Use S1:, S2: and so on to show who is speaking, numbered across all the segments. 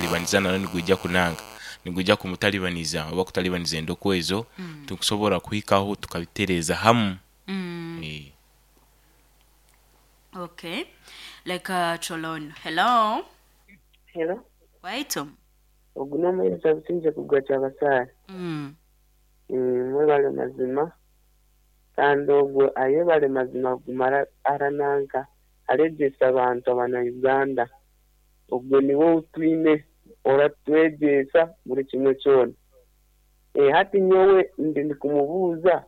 S1: kumutalibaniza nawe nigwija kunanga nigwija kumutalibaniza oba kutalibaniza endokwa ezo tukusobora kuhikaho tukabitereeza hamu.
S2: Okay, leka Cholon. Hello.
S3: Hello.
S2: Waitu.
S3: Ogu n'omuheereza Busingye kugwa Kyabasaale. Mwebale mazima kandi ogwo ayebale mazima kuguma arananka aregyesa abantu abana Uganda. Ogwo niwe ou twine oratwegyesa buri kimwe kyona. Hati nyowe ndi ndikumubuuza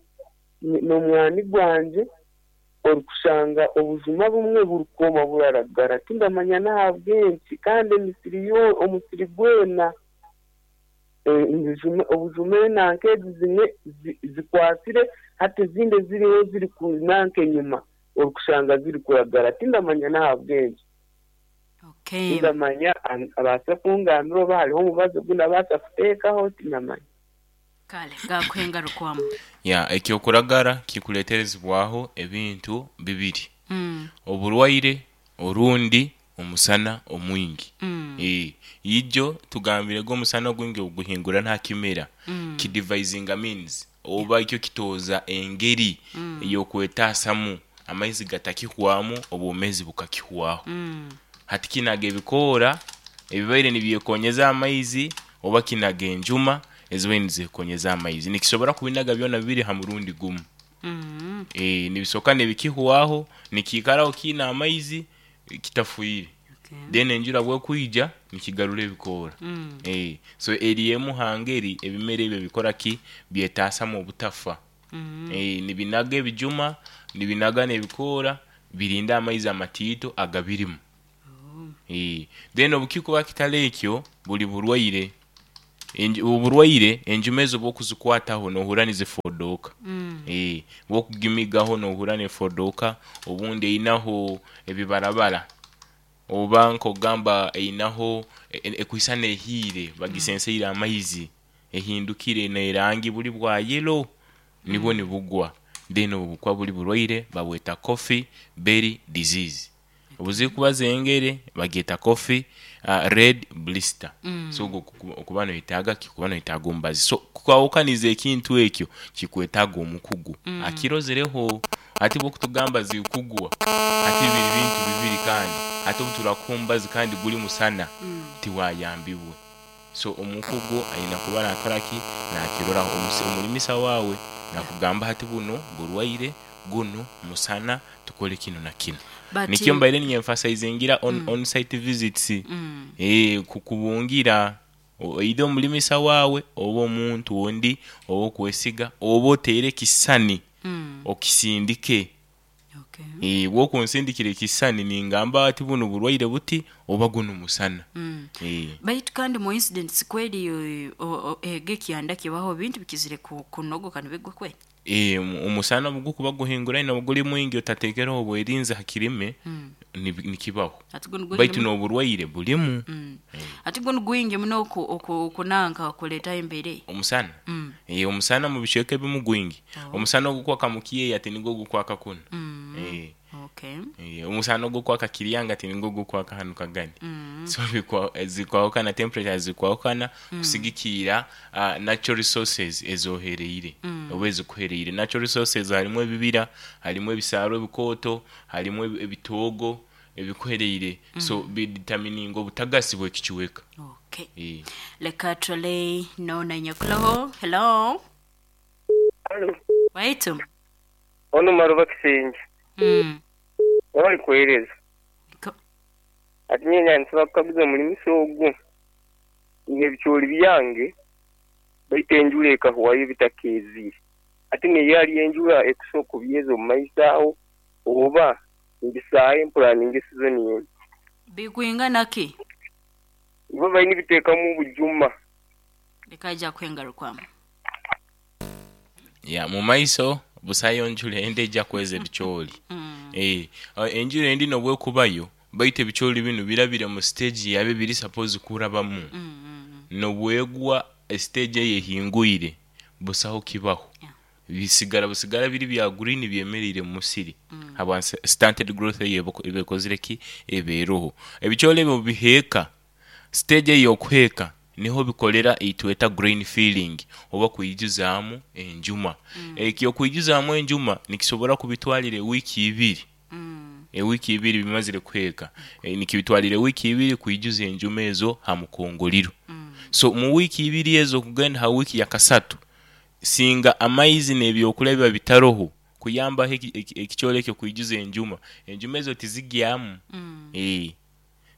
S3: n'omwani gwangye orikushanga obujuma bumwe burikwoma buraragara tindamanya n'ahabw'enki kandi emisiri omusiri gwena obujuma enanka ezi zimwe zikwasire hati ezindi eziriho ziri nanka enyima orikushanga zirikuragara tindamanya n'ahabw'enki. Tindamanya abaase kungambira oba hariho omubazi ogu ndabaasa kuteekaho tindamanya.
S2: Kale gakuhengarukwamu.
S1: Ya ekyokuragara kikuleterezebwaho ebintu bibiri. Oburwaire orundi omusana omwingi. Ijo tugambire go omusana ogwingi obuguhingura nta kimera kidivayizinga means oba ikyo kitooza engeri ey'okwetaasamu amaizi gatakihwamu obwomezi bukakihwaho. Hati kinaga ebikoora ebibaire nibyekonyeza amaizi oba kinaga enjuma ezibaire nizekonyeza amaizi. Nikisobora kubinaga byona bibiri ha murundi gumu. Nibisoka nibikihwaho nikiikaraho kiine amaizi kitafwire. Then enjura bwekwija nikigarura ebikoora. So eri emu ha ngeri ebimera ebyo bikora ki? Byetaasamu obutafa. Nibinaga ebijuma, nibinaga n'ebikoora birinde amaizi amatiito agabirimu. Then obukikuba kitali ekyo buli burwaire. Oburwaire enjuma ezo obwokuzikwataho nohurra nizifodooka. Bwokugimigaho nohurra nefodooka obundi einaho ebibarabara oba nk'ogamba einaho ekwisana ehiire bagisenseire amaizi ehindukire n'erangi buli bwa yelo nibwo nibugwa then obwo bukuba buli burwaire babweta coffee berry disease. Obuzikuba zengere bagyeta coffee red blister. So ogwo okuba noyetaaga ki? Okuba noyetaaga omubazi. So kwahukaniza ekintu ekyo kikwetaaga omukugu akirozereho. Hati bwokutugamba zikugwa hati biri bintu bibiri kandi hati obuturakuha omubazi kandi guri musana tiwayambibwe. So omukugu aine kuba nakora ki? Nakiroraho. Omulimisa waawe nakugamba hati bunu burwaire, gunu musana tukole kinu na kinu.
S2: But
S1: Nikyo mbaire ninyemphasizingira on site visits kukubungira either omulimisa waawe oba omuntu ondi owokwesiga oba oteere ekisisani okisindike. Bwokunsindikira ekisisani ningamba ati bunu burwaire buti oba gunu musana.
S2: Baitu kandi mu incidents kweri ego ekyanda kibaho ebintu bikizire kunogoka nibigwa kweri?
S1: Omusana obugukuba guhinguraine oba guri mwingi otatekereho obwerinzi ha kirime nikibaho.
S2: Hati gunu gwingi
S1: Baitu
S2: muno.
S1: n'oburwaire burimu.
S2: Hati gunu gwingi muno okunanka okuleetaho embeera eyo.
S1: Omusana? Omusana omu bicweka ebimu gwingi. Omusana ogukwaka mu kyeya tinigwo gukwaka kunu. Omusana ogukwaka Kiryanga tinigwo gukwaka hanu Kagadi. So zikwahukana, temperatures zikwahukana kusigikiira natural resources ezohereire oba ezikuhereire. Natural resources harimu ebibira, harimu ebisaaru ebikooto, harimu ebitoogo ebikuhereire so biditamininga obutagasi bw'ekicweka.
S2: Okay. Leka turole noona nyakuloho. Hello.
S4: Halo.
S2: Waitu.
S4: Onu Maruba Kisingye. Webale kuhereza. Hati nyowe nyaaba ninsobola kukaguza omulimisa ogu, nyine ebicoori byange baitu enjura ekahwayo bitakeezire. Hati niyo hariyo enjura ekusobola kubyeza omu maiso aho oba mbisaahe mpuraninge sizoni endi?
S2: Bikwingana ki?
S4: Ibo baine nibiteekamu obujuma.
S2: Leka aija kuhengarukwamu.
S1: Ya mu maiso busayo njura endi eija kweza ebicoori. Enjura endi n'obwekubayo baitu ebicoori binu birabire mu siteegi yabyo ebiri sapozi kurabamu. N'obwegwa esiteegi eyo ehingwire busaho kibaho. Bisigara busigara biri bya gurini byemereire mu musiri habwa stunted growth eyo eba ekozire ki? Eba eroho. Ebicoori ebyo obubiheeka. Stage ey'okuheeka niho bikolera eitweta grain filling oba kwijuzaamu enjuma. Eki okwijuzaamu enjuma nikisobora kubitwalira ewiiki ibiri, ewiiki ibiri bimazire kuheeka, nikibitwalira ewiiki ibiri kwijuza enjuma ezo ha mukongoliro. So mu wiiki ibiri ezo kugenda ha wiiki ya kasatu, singa amaizi n'ebyokulya biba bitaroho kuyambaho ekicoori ekyo kwijuza enjuma, enjuma ezo tizigyamu.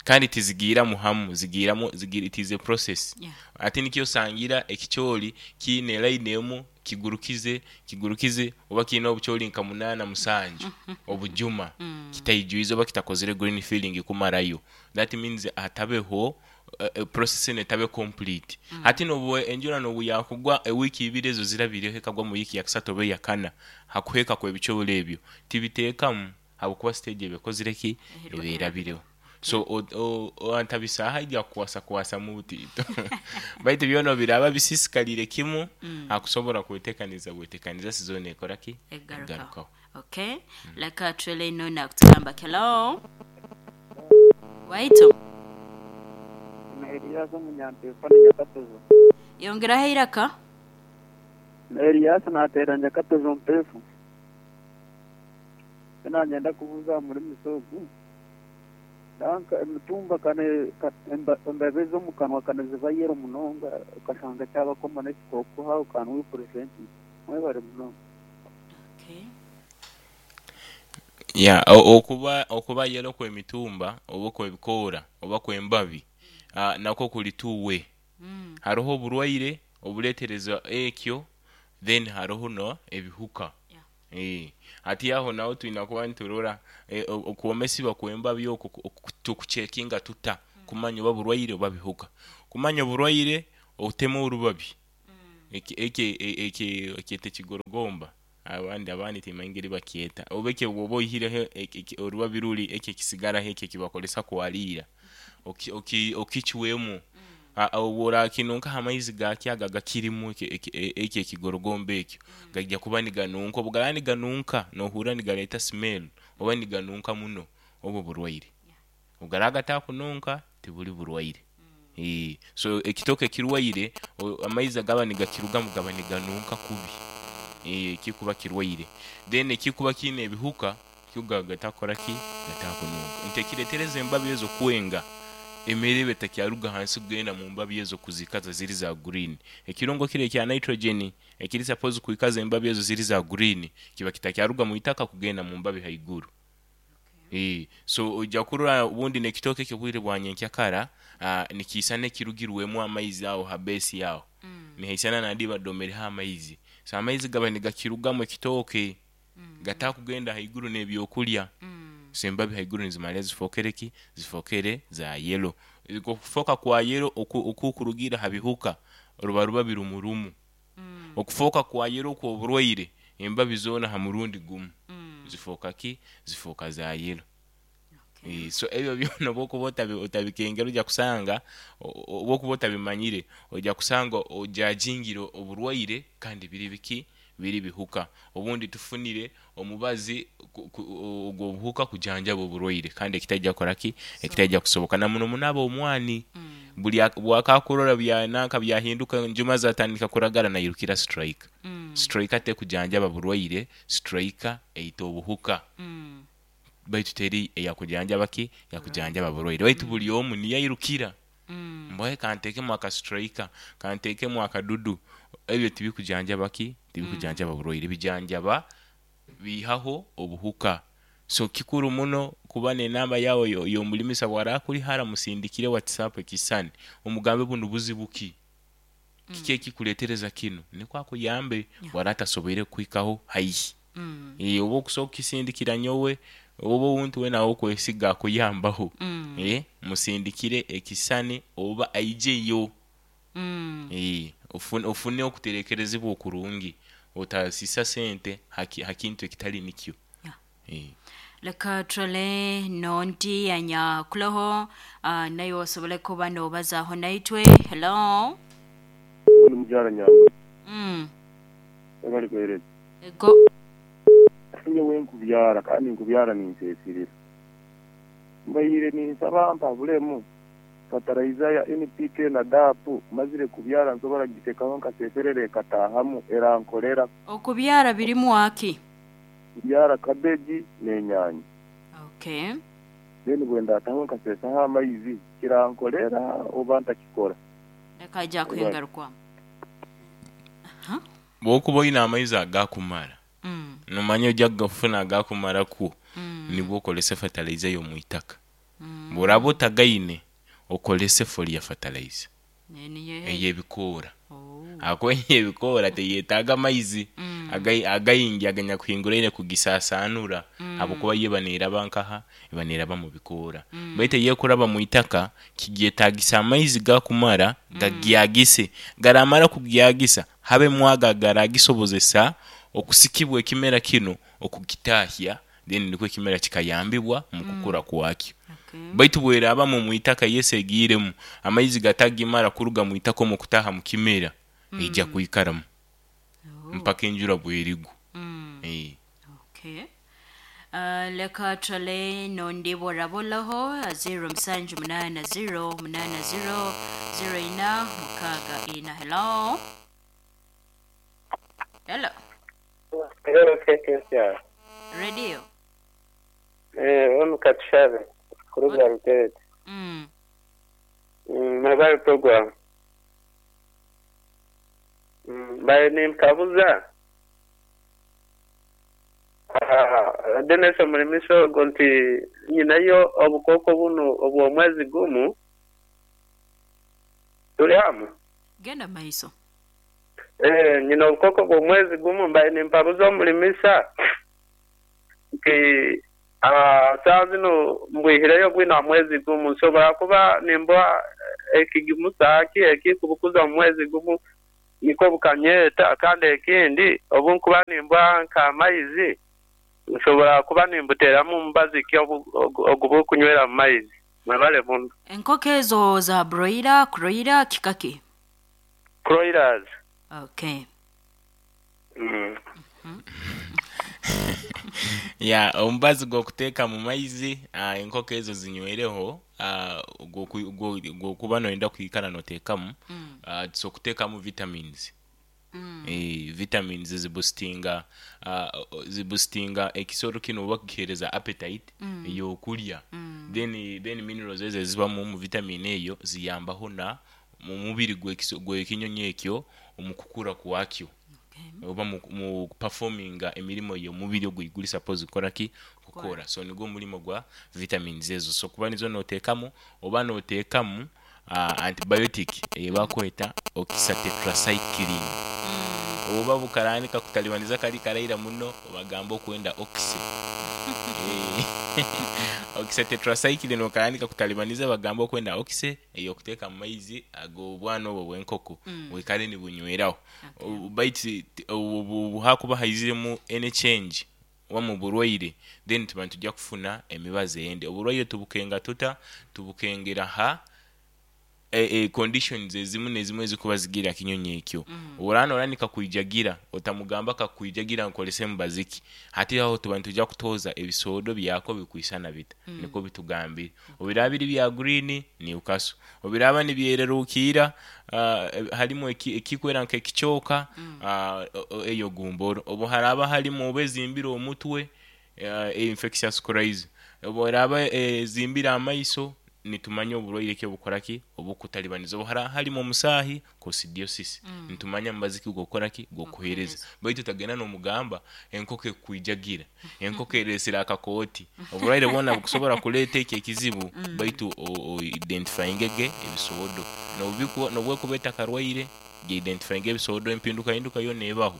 S1: Kandi tizigiiramu hamu, zigiiramu it is a process. Hati nikyo osangira ekicoori kiine line emu kigurukize, kigurukize oba kiine obucoori nka munaana musanju obujuma kitaijwize oba kitakozire green filling kumarayo. That means hatabeho process enu etabe complete. Hati nobu enjura nobu yakugwa ewiiki ibiri ezo zirabireho ekagwa mu wiiki ya kasatu oba eyakana hakuheeka kw'ebicoori ebyo, tibiteekamu habwokuba stage eba ekozire ki? Eba erabireho. So antabisaaho aija kukwasakwasamu butiito baitu byona obu biraaba bisiisikaliire kimu, akusobora kweteekaniza bweteekaniza sizoni ekora ki? Egarukaho.
S2: Okay. Leka turole eno nakutugamba ki. Hello. Waitu.
S5: Na Elias omunyampefano Nyakatozo.
S2: Yongeraho eiraka.
S5: Na Elias nateera Nyakatozo mpefu. Eki nanyenda kubuuza aha murimisa ogu, nanka emitumba embabi ez'omu kanwa ka niziba yellow munonga okashanga kyaba common ekikooko how can we prevent it? Mwebare munonga.
S2: Okay.
S1: Yeah, okuba yellow kw'emitumba oba okw'ebikoora oba kw'embabi nakwo kuli two way. Haroho oburwaire obureetereza ekyo then haroho n'ebihuka. Hati aho naho twina kuba niturora okwomesibwa kw'embabi okwo tukucekinga tuta kumanya oba burwaire oba bihuka. Kumanya oburwaire otema orubabi eki bakyeta ekigorogomba abandi timanyire engeri bakyeta, oba ekyo bw'oba oihireho orubabi ruri ekyo ekisigaraho ekyo ekibakozesa kwaliira okicwemu, obu orakinunkaho amaizi gaakyo ago agakirimu ekyo ekigorogomba ekyo gaija kuba niganunka, obu garaaba niganunka nohurra nigareeta smell oba niganunka muno obwo burwaire. Obu garaaba gatakununka tibuli burwaire. So ekitooke ekirwaire amaizi agaba nigakirugamu gaba niganunka kubi ekikuba kirwaire. Then ekikuba kiine ebihuka kyo gaba gatakukora ki? Gatakununka. Nti ekireetereza embabi ezo kwenga, emere eba etakyaruga hansi kugenda mu mbabi ezo kuzikaza ziri za green. Ekirungo kiri ekya nitrogen ekiri suppose kwikaza embabi ezo ziri za green kiba kitakyaruga mu itaka kugenda mu mbabi haiguru. So oija kurora obundi n'ekitooke ekyo obwire bwa nyenkyakara nikiisana ekirugirwemu amaizi aho ha base aho, nihaisana nandi badomereho amaizi. So amaizi gaba nigakirugamu ekitooke gatakugenda haiguru n'ebyokulya. So embabi haiguru nizimara zifookere ki? Zifookere za yellow. Okufooka kwa yellow okukurugiira ha bihuka ruba rubabi rumu rumu. Okufooka kwa yellow okw'oburwaire embabi zoona ha murundi gumu zifooka ki? Zifooka za yellow. So ebyo byona obu okuba otabikengere oija kusanga obu okuba otabimanyire oija kusanga ojajingire oburwaire kandi biri biki? Biri bihuka. Obundi tufunire omubazi ogw'obuhuka kujanjaba oburwaire kandi ekitaija kukora ki? Ekitaija kusoboka. Na muno muno ab'omwani buri bwakakurora nanka byahinduka enjuma zatandika kuragara nairukira striker. Striker tekujanjaba burwaire, striker eita obuhuka. Baitu teri eyakujanjaba ki? Eyakujanjaba burwaire. Baitu buri omu niyo airukira. Mbwahe kanteekemu aka striker, kanteekemu akadudu. Ebyo tibikujanjaba ki? Tibikujanjaba burwaire, bijanjaba biihaho obuhuka. So kikuru muno kuba n'enamba yaawe y'omulimisa bw'araaba akuri hara musindikire WhatsApp ekisisani omugambe bunu buzibu ki? Kiki ekikuleetereza kinu? Nikwo akuyambe bw'araaba atasoboire kukuhikaho haihi. Oba okusobola kukisindikira nyowe oba owuntu weena ow'okwesiga akuyambaho, musindikire ekisisani oba aijeyo. Ofune okuterekerezebwa okurungi otasiisa sente ha kintu ekitali nikyo.
S2: Leka turole n'ondi anyakuloho naiwe osobole kuba n'obazaaho naitwe. Hello.
S4: Ndi mukyala Nyambura. Webale kuheereza.
S2: Ego.
S4: Nyowe nkubyara kandi nkubyara ninseesirira. Mbaire ninsaba mpabulemu.
S6: Fertilizer ya NPK na DAP mazire kubyara nsobora kugiteekaho nkaseserera ekataahamu erankolera.
S2: Okubyara birimu aki?
S6: Kubyara cabbage n'enyaanya.
S2: Okay.
S6: Then bwendataho nkasesaho amaizi kirankolera oba ntakikora?
S2: Leka aija kuhengarukwamu.
S1: Bwokuba oyina amaizi agakumara, nomanya oija kugafuna agakumara kwo, nibwo okolesa efatalaiza ey'omwitaka. Bworaba otagaine, okolese folia fertilizer ey'ebikoora ahakuba ey'ebikoora teyetaaga maizi againgi aganyakuhinguraine kugisasanura ahabwokuba yo eba neraba nkaha? Eba neraba mu bikoora. Baitu eyekuraba mwitaka kigyetagisa amaizi gakumara gagyagise, garamara kugyagisa habemu ago agaragisobozesa okusikibwa ekimera kinu okugitahya then nikwo ekimera kikayambibwa mu kukura kwakyo. Baitu bwerabamu omu itaka yesi egiiremu, amaizi gatagimara kuruga mu itaka omu kutaaha mu kimera, eija kwikaramu mpaka enjura bwerigwa.
S2: Okay. Leka turole n'ondi bworabolaho 0780 80 04 64. Hello. Hello.
S4: Hello, KKCR.
S2: Radio.
S4: Onu Katushabe kuruga Ruteete. Mwebale program. Mbaire ninkabuza Dennis omulimisa ogu nti nyinayo obukooko bunu obw'omwezi gumu tuli hamu?
S2: Genda maiso.
S4: Nyina obukooko bw'omwezi gumu mbaire nimpabuza omulimisa nti saaha zinu mbwihireyo bwino ha mwezi gumu nsobora kuba nimbuha ekigimusa ki ekikubukuza omu mwezi gumu nikwo bukanyeta kandi ekindi obu nkuba nimbuha nk'amaizi nsobora kuba nimbuteramu mubazi ki ogu bukunywera mu maizi. Mwebale muno.
S2: Enkoko ezo za broiler, kroiler, kika ki?
S4: Kroilers.
S2: Okay.
S1: Ya, omubazi gw'okuteeka mu maizi enkoko ezo zinywereho gw'okuba noyenda kwikara noteekamu, tusobola kuteekamu vitamins. Vitamins zibusitinga zibusitinga ekisoro kinu oba kugihereza appetite ey'okurya. Then then minerals ezo ezibamu omu vitamin eyo ziyambaho na mu mubiri gw'ekinyonyi ekyo omu kukura kwakyo oba mu kupafominga emirimo y'omubiri oguli guli suppose kukora ki? Kukora. So nigwo omurimo gwa vitamins ezo. So kuba nizo noteekamu oba noteekamu antibiotic eyebakweta oxytetracycline. Oba bukarani kakutalibaniza kali karaira muno obagamba okwenda oxy. Oxytetracycline okarani kakutalibaniza bagamba okwenda oxy ey'okuteeka mu maizi ag'obwana obwo obw'enkoko bwikare nibunyweraho. Baitu obu hakuba haiziremu any change oba mu burwaire then tuba nitwija kufuna emibazi endi. Oburwaire tubukenga tuta? Tubukengera ha conditions ezimu n'ezimu ezikuba zigire ha kinyonyi ekyo. Obu oraaba norora nikakwijagira, otamugamba kakwijagira nkorese mubazi ki. Hati aho tuba nitwija kutooza ebisoodo byako bikwisana bita, nikwo bitugambire. Obu biraaba biri bya green, Newcastle. Obu biraaba nibyererukiira harimu ekikwera nk'ekicooka, eyo gumboro. Obu haraaba harimu oba ezimbire omutwe, infectious coryza. Obu eraaba ezimbire amaiso, nitumanya oburwaire ki obukora ki? Obukutalibaniza. Obu haraaba harimu omusaahi, coccidiosis, nitumanya mubazi ki ogw'okukora ki? Ogw'okuheereza. Baitu otagenda n'omugamba enkoko ekukwijagira, enkoko ereesire akakooti. Oburwaire bwona bukusobora kuleeta ekyo ekizibu baitu oidentifayinge ge ebisoodo. N'obu ekuba etakarwaire, geidentifayinge ebisoodo empindukahinduka yoona ebaho,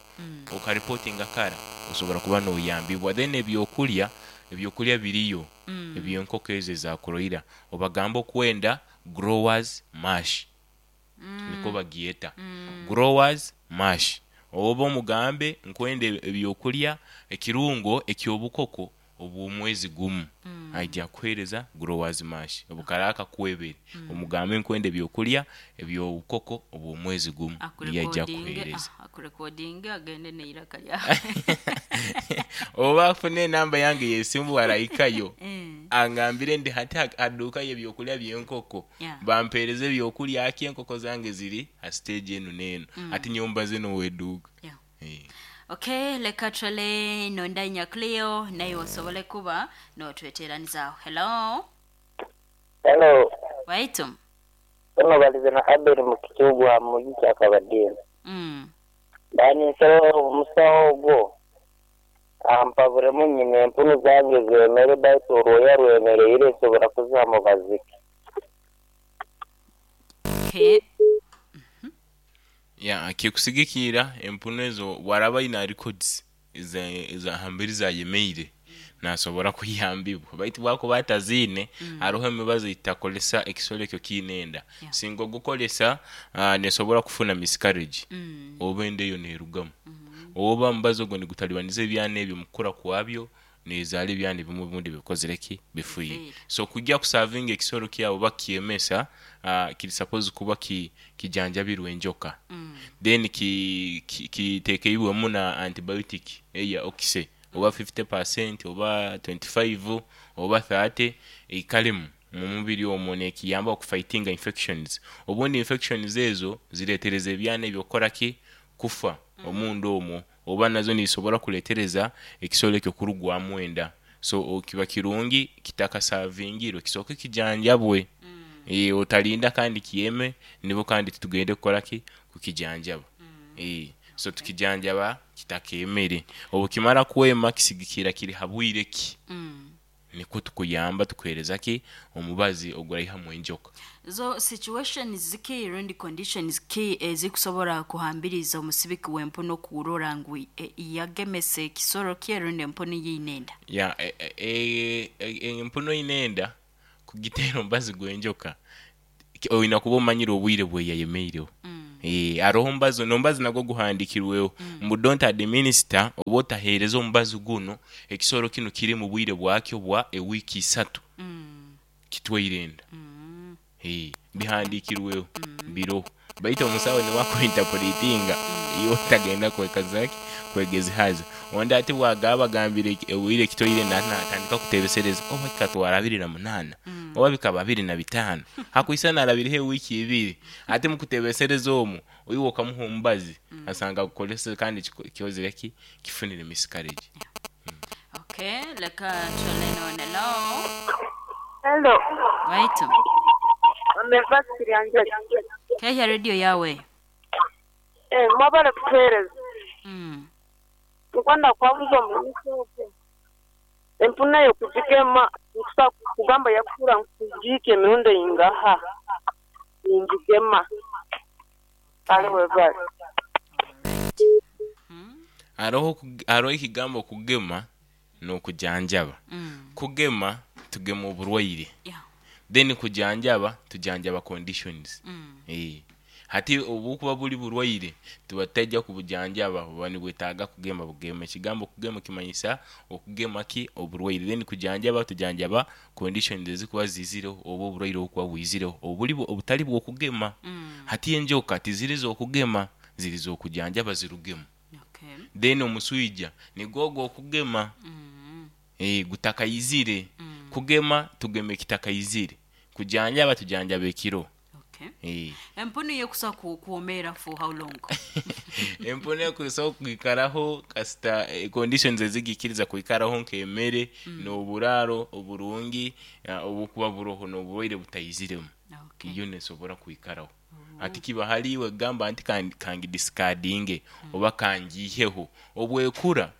S1: okaripotinga kara osobora kuba noyambibwa. Then ebyokurya, ebyokurya biriyo eby'enkoko ezo eza kuroira, obagambe okwenda growers mash nikwo bagyeta, growers mash. Oba omugambe nkwenda ebyokurya ekirungo eky'obukoko. Obw'omwezi gumu aija kukuheereza growers mash obukaraba kakwebere, omugambe nkwenda ebyokulya eby'obukoko obw'omwezi gumu, niyo aija kukuheereza.
S2: Akurekodinge agende n'eiraka lyawe.
S1: Oba afune enamba yange y'esimu arahikayo angambire ndi hati ha duuka y'ebyokulya by'enkoko, bampeereze ebyokulya ki, enkoko zange ziri ha stage enu n'enu, hati nyowe mbaze n'oweduuka.
S2: Okay, leka turole nondainya Cleo naiwe osobole kuba notweteranizaaho. Hello.
S7: Hello.
S2: Waitu.
S7: Ono balize na Abel Mukikyugwa aha muji Kyakabadinda. Mba ninsaba omusawo ogwo ampaburemu nyine empunu zange zemere baitu orwoya rwemereire nsobora kuziha mubazi ki?
S2: Okay.
S1: Ya, kikusigikira empunu ezo bwaraba aine records eza hamberi zayemeire nasobora kuyambibwa, baitu bwakuba ataziine, haroho emibazi eyitutakozesa ekisoro ekyo kiine enda. Singa ogukozesa, nesobora kufuna miscarriage oba enda eyo nerugamu, oba omubazi ogwo nigutalibaniza ebyana ebyo mukukura kwabyo, nezaara ebyana ebimwe obundi bikozire ki? Bifiire. So kujya kusavinga ekisoro kyawe oba kukyemesa, kiri suppose kuba kijanjabirwe enjoka, then kitekeibwemu na antibiotic eya okise oba 50% oba 25 oba 30 eikalemu mumubiri omwo nekiyamba okufaitinga infections. Obundi infections ezo ziretereza ebyana ebyo kukora ki? Kufa omunda omwo, oba nazo nizisobora kuletereza ekisoro ekyo kurugwamu enda. So kiba kirungi kitakasavingirwe kisooke kijanjabwe, otarinda kandi kyeme nibwo kandi tugende kukora ki? Kukijanjaba. So tukijanjaba kitakemere, obukimara kwema kisigikira kiri ha bwire ki, nikwo tukuyamba tukuhereza ki? Omubazi oguraihamu enjoka.
S2: Zo situations ziki rundi conditions ki ezikusobora kuhambiriza omusibiki w'empunu kurora ngu yagemesa ekisoro kye rundi empunu yiine enda?
S1: Ya, empunu eine enda kugiteera omubazi gw'enjoka oine kuba omanyire obwire bweyayemeireho. Haroho omubazi, n'omubazi nagwo guhandikirweho ngu don't administer oba otahereza omubazi gunu ekisoro kinu kiri mu bwire bwakyo bwa ewiiki isatu kitwaire enda. Bihandikirweho biroho, baitu omusawo niwe akuinterpretinga iwe otagenda kwekaza ki? Kwegezihaza. Ondi ati bwagaba agambire obwire kitwaire enda natandika kutebesereza oba kikatwara 28 oba bikaba 25 hakwisana arabireho ewiiki ibiri, ati mukutebesereza omwo iwe okamuha omubazi asanga agukozeseze kandi kikozire ki? Kifunire miscarriage.
S2: Okay, leka turole none. Hello.
S8: Hello.
S2: Waitu.
S8: Omeva Kiryanjagi.
S2: Kehya radio yawe.
S8: Mwabale kutuhereza. Nkwenda kwabuza omuliisa ogwo. Empunu eyo kugigema nkusa kugamba yakukura nkugiika emirundi eingaha ningigema. Kale webale.
S1: Haroho ekigambo kugema n'okujanjaba. Kugema tugema oburwaire, then kujanjaba tujanjaba conditions. Hati obukuba buri burwaire tuba tutaija kubujanjaba, buba nibwetaaga kugema bugema. Ekigambo kugema kimanyisa okugema ki? Oburwaire. Then kujanjaba tujanjaba conditions ezikuba ziizireho oba oburwaire obukuba bwizireho obutari bw'okugema. Hati enjoka tiziri z'okugema, ziri z'okujanjaba zirugemu. Then omuswija nigwo ogw'okugema gutakaizire. Kugema tugema ekitakaizire, kujanjaba tujanjaba ekiro.
S2: Empunu yo ekusobola kwomeera for how long?
S1: Empunu ekusobola kwikaraho kasita conditions ezigikiriza kwikaraho nk'emere n'oburaaro oburungi obukuba buroho n'oburwaire butaiziremu, yo nesobora kwikaraho. Hati kiba hali iwe kugamba nti kangidisikadinge oba kangiiheho. Obwekura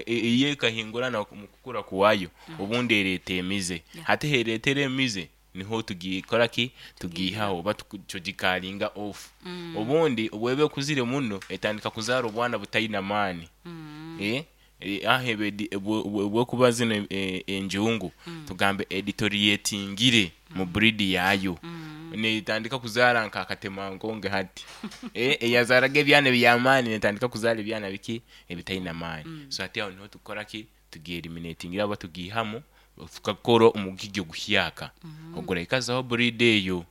S1: iyo ekahingurana omu kukura kwayo, obundi ereeta emize. Hati heeretera emize niho tugikora ki? Tugiihaho oba tugikaringa off. Obundi obweba ekuzire muno etandika kuzaara obwana butaine amaani. Aha obwekuba zinu enjungu tugambe editorietingire mu breed yayo, netandika kuzaara nka akatemankonge hati. Eyazaaraga ebyana eby'amaani netandika kuzaara ebyana biki? Ebitaine amaani. So hati aho niho tukora ki? Tugieliminatingira aba tugihamu, tukakora omugigi oguhyaka oguraikazaho breed eyo.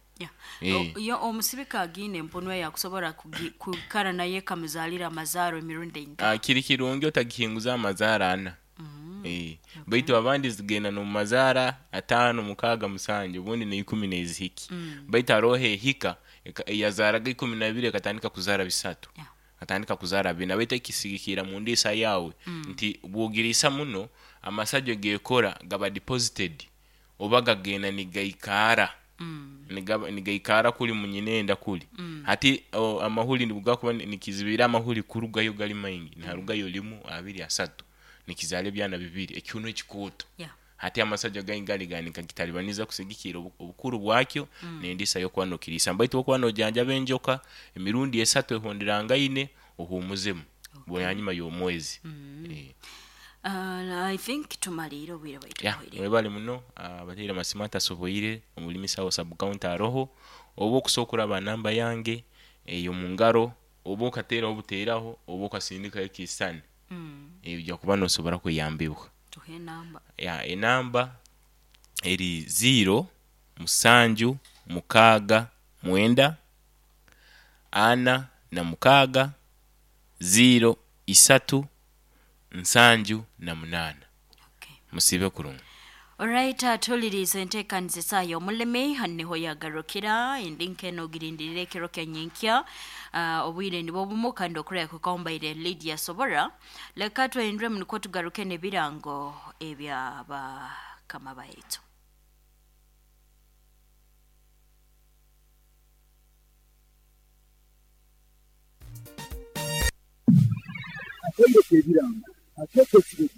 S2: Yo omusibika agiine empunu eyo akusobora kwikara naye ekamuzaalira amazaaro emirundi einga?
S1: Kiri kirungi otagihinguza amazaara 4. Baitu abandi zigenda n'omu mazaara 5, 6, 7, obundi na10 nezihiki. Baitu haroho ehika eyazaaraga 12 ekatandika kuzaara 3, atandika kuzaara 4. Baitu ekisigikira mu ndiisa yawe, nti bwogiriisa muno amasajjo gekora gaba deposited oba gagenda nigaikara, nigaikara kuli munyinenda kuli. Hati amahuri nibugakuba nikizibira amahuri kurugayo gali maingi, niharugayo 1, 2, 3, nikizaara ebyana 2, ekihunu ekikooto. Hati amasajjo gali nigagitalibaniza kusigikira obukuru bwakyo n'endiisa yokuba nokiriisa. Baitu okuba nojanjaba enjoka emirundi 3 ehonderangaine, ohumuzemu hanyuma y'omwezi.
S2: I think tumaliire obwire bwaitu buhweire.
S1: Webale muno. Abateire amasimu atasoboire omulimisa wa sub-county aroho, oba okusobola okuraba namba yange ey'omungaro, oba okateeraho obuteeraho, oba okasindikayo ekisisani, ojja kuba nosobora kuyambibwa.
S2: Tuhe enamba.
S1: Enamba eri 0 7 6 9 46 0 3 78. Musibe kurungi.
S2: Alright, atulirize enteekaniza esaaha y'omulimi niho yagarukira endi nkeno ogirindirire ekiro kya nyenkya, obwire nibwo bumu kandi okureba kukombaire Lydia Sobora. Leka twendremu nukwo tugaruke n'ebirango ebyabakama baitu.
S9: Akaire k'ebirango akeekesire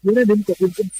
S9: byona nemukatenka.